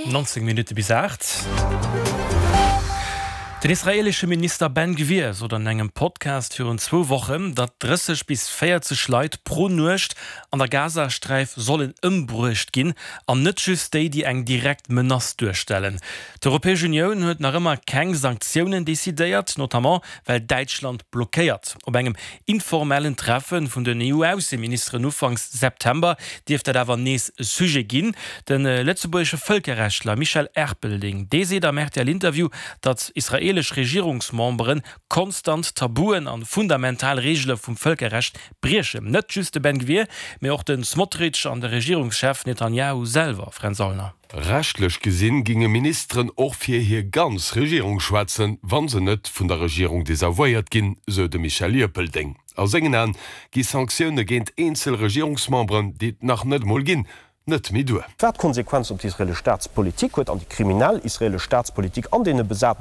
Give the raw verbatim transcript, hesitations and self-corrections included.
Nonzéng Minutte bis aacht. Den israeelesche Minister Ben Gvir sot an engem Podcast virun zwou Wochen, datt drësseg bis véierzeg Leit pro Nuecht an der Gazasträif sollen ëmbruecht ginn, an net just déi, déi eng direkt Menace duerstellen. D'Europäesch Unioun huet nach ëmmer keng Sanktiounen decidéiert, notamment well Däitschland blockéiert. Op engem informellen Treffe vun den E U-Ausseministeren ufanks September dierft dat awer nees e Sujet ginn. De lëtzebuergesche Vëlkerrechtler Michel Erpelding, dee seet am R T L-Interview, datt israeelesch Regierungsmembere konstant Tabuen an fundamental Reegele vum Vëlkerrecht briechen. Net just de Ben Gvir, mee och de Smotrich an de Regierungschef Netanjahu selwer, Fränz Aulner. Rechtlech gesinn ginge Ministeren och fir hir ganz Regierung schwätzen, wann se net vun der Regierung desavouéiert ginn, sou de Michel Erpelding. A sengen Aen gi Sanktioune géint eenzel Regierungsmemberen, déi et nach net mol ginn, net méi duer. Wat Konsequenzen op d'israeelesch Staatspolitik huet an déi kriminell israeelesch Staatspolitik an deene besatene